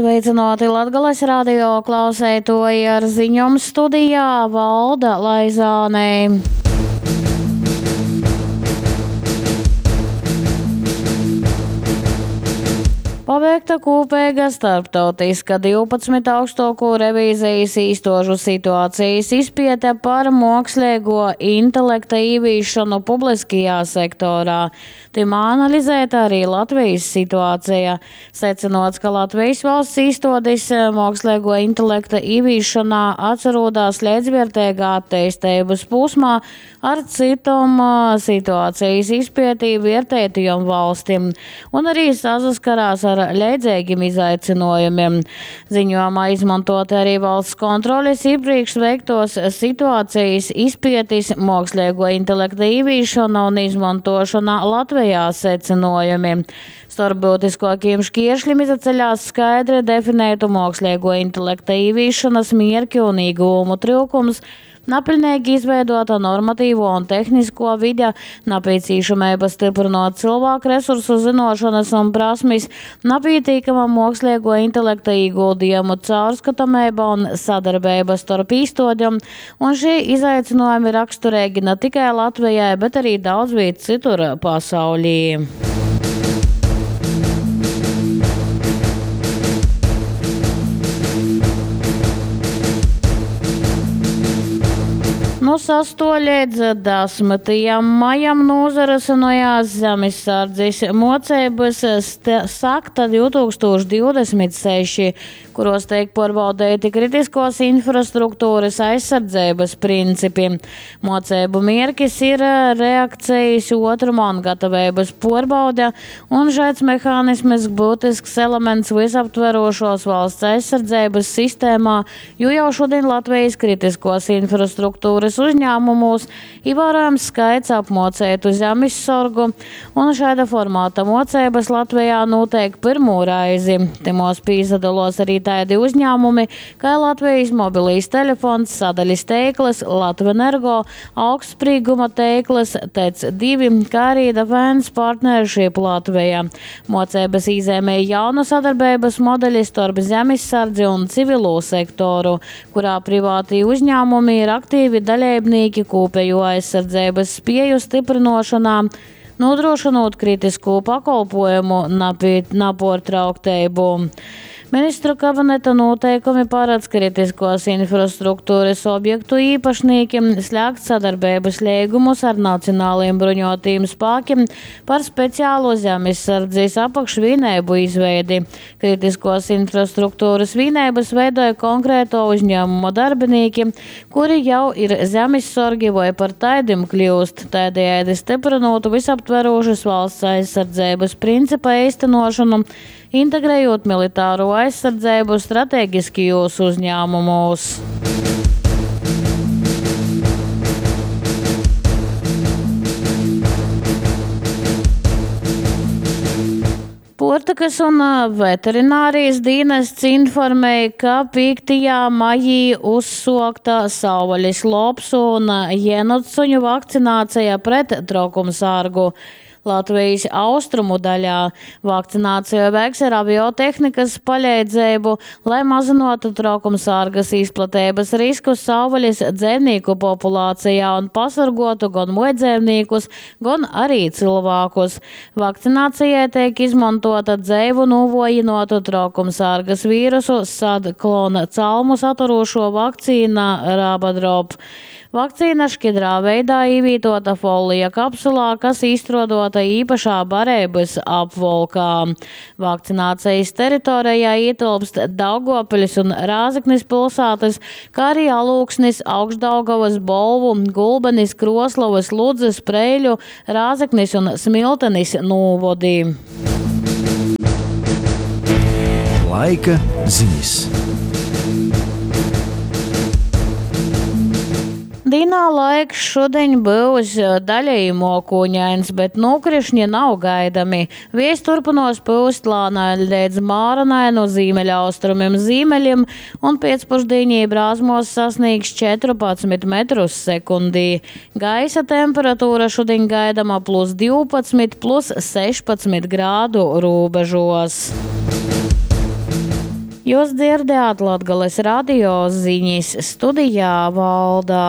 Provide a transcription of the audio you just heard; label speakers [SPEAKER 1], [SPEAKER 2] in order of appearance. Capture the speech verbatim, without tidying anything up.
[SPEAKER 1] Sveicināti Latgales radio klauseitoji ar ziņom studijā Valda Laizāne. Paveikta kopīga starptautiska divpadsmit augstāko revīzijas īstožu situācijas izpiete par mākslīgo intelekta īvīšanu publiskajā sektorā. Timā analizēta arī Latvijas situācija. Secinots, ka Latvijas valsts īstodes mākslīgo intelekta īvīšanā atsarodās līdzvērtīgā attīstības posmā ar citom situācijas izpietī vērtētajām valstīm un arī saskarās ar leidzīgiem izaicinājumiem. Ziņojumā izmantot arī valsts kontroles iepriekš veiktos situācijas izpietis, mākslīgo intelekta īvīšana un izmantošana Latvijā secinājumi. Starp būtiskākajiem šķēršļiem izaceļās skaidri definētu mākslīgo intelekta īvīšanas mierki un ieguvumu trūkums, napilnīgi izveidota normatīvo un tehnisko vide, nepieciešamība stiprinot cilvēku resursu zinošanas un prasmes, nepietiekama mākslīgo intelekta ieguldījumu caurskatāmība un sadarbība starp īstodiem, un šie izaicinājumi raksturīgi ne tikai Latvijai, bet arī daudz viet citur pasaulī. Nu sesto līdz desmitajam maijam nozarasinājās Zemessardzes mocības Sakta divtūkstoš divdesmit seši, kuros tiek pārbaudīti kritiskos infrastruktūras aizsardzības principi. Mocību mierkis ir reakcijas otruma un gatavības pārbaude, un šāds mehānisms būtisks elements visaptverošos valsts aizsardzības sistēmā, jo jau šodien Latvijas kritiskos infrastruktūras uzņēmumos ievērojams skaits apmocētu zemessorgu, un šāda formāta mocības Latvijā notiek pirmo reizi. Timos pīzadalos arī tādi uzņēmumi, kā Latvijas mobilīs telefons, sadaļas teiklas, Latvenergo, augstsprīguma teiklas, T E C divi, kā arī Defense Partnership Latvija. Mocības īzēmēja jaunu sadarbības modeļi starp zemessardzi un civilo sektoru, kurā privātī uzņēmumi ir aktīvi dalībnieki kopējo aizsardzības spēju stiprinošanā, nodrošinot kritisko pakalpojumu napie-, nepārtrauktību. Ministru kabineta noteikumi paredz kritiskos infrastruktūras objektu īpašniekiem slēgt sadarbības līgumus ar nacionāliem bruņotajiem spēkiem par speciālo zemesardzes apakšvienību izveidi. Kritiskos infrastruktūras vienības veidoja konkrēto uzņēmumu darbinieki, kuri jau ir zemessorgi vai par taidim kļūst, tādējādi stiprinot visaptverošas valsts aizsardzības principa īstenošanu, integrējot militāro aizsardzību strateģiskajos uzņēmumos. Puortykas un veterinārijas dienests informēja, ka piektajā maijī uzsākta savvaļas lopsu un jenotsuņu vakcinācija pret trokumsārgu. Latvijas austrumu daļā vakcināciju veiks ar aviotehnikas palīdzību, lai mazinātu traukumsārgas izplatības risku savvaļas dzīvnieku populācijā un pasargotu gan mujdzīvniekus, gan arī cilvēkus. Vakcinācijai tiek izmantota dzēvu novojinotu traukumsārgas vīrusu sadklona calmu saturošo vakcīna Rabadrop. Vakcīna šķidrā veidā ievītota folija kapsulā, kas izstrādota īpašā barības apvolkā. Vakcinācijas teritorijā ietilpst Daugavpils un Rāzeknis pilsētas, kā arī Alūksnis, Augšdaugavas, Bolvu, Gulbenis, Kroslovas, Ludzas, Preiļu, Rāzeknis un Smiltenis novadi.
[SPEAKER 2] Laika ziņas.
[SPEAKER 1] Dienā laiks šodien būs daļēji mokūņains, bet nokrišņi nav gaidami. Vējs turpinos pūst lānai līdz māranai no ziemeļaustrumiem ziemeļiem un pēcpusdienī brāzmos sasniegs četrpadsmit metrus sekundī. Gaisa temperatūra šodien gaidama plus divpadsmit, plus sešpadsmit grādu robežos. Jūs dzierdējāt Latgales radio ziņas studijā Valda.